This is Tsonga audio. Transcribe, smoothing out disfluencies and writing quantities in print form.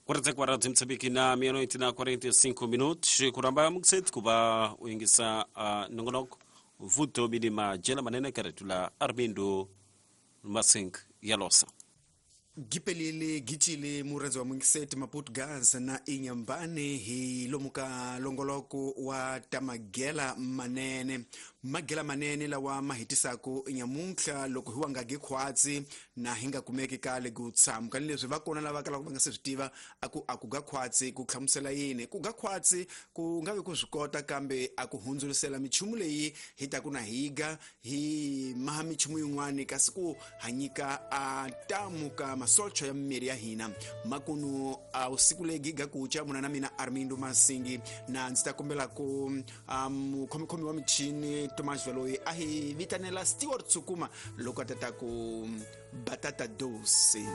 Quarenta de Moçambique na meia-noite na 45 minutos. Kuramba mukset kuba uingisa nongonoko vuto bidima jela manene karetula Armindo Masink Yalosa. Gipelile gicile murhandzi wa mungiseti Maputo na Inyambani hi lomu ka longoloko wa tamagela manene, magela manene lawa ma hetisaku nyamuntlha loko hi wa nga gi khwatsi na hi nga kumeki kale ku tshama ni leswi va kona lava kalaka va nga se swi tiva a ku a ku ga khwatsi ku hlamusela yini. Ku ga khwatsi ku nga vi ku swi kota kambe a ku hundzulisela michumu leyi hi taku na higa hi maha michumu yin'wani, kasi ku hanyika a tamu ka masocho ya mimiri ya hina. Makunu a usiku leyi giga kucha muna na mina Armindo Masingi, na ndzi ta kombela ku mukhomikhomi wa michini Tomas Valoyi a hi vitanela Stewart Tsukuma loko a ta ta ku batata doce.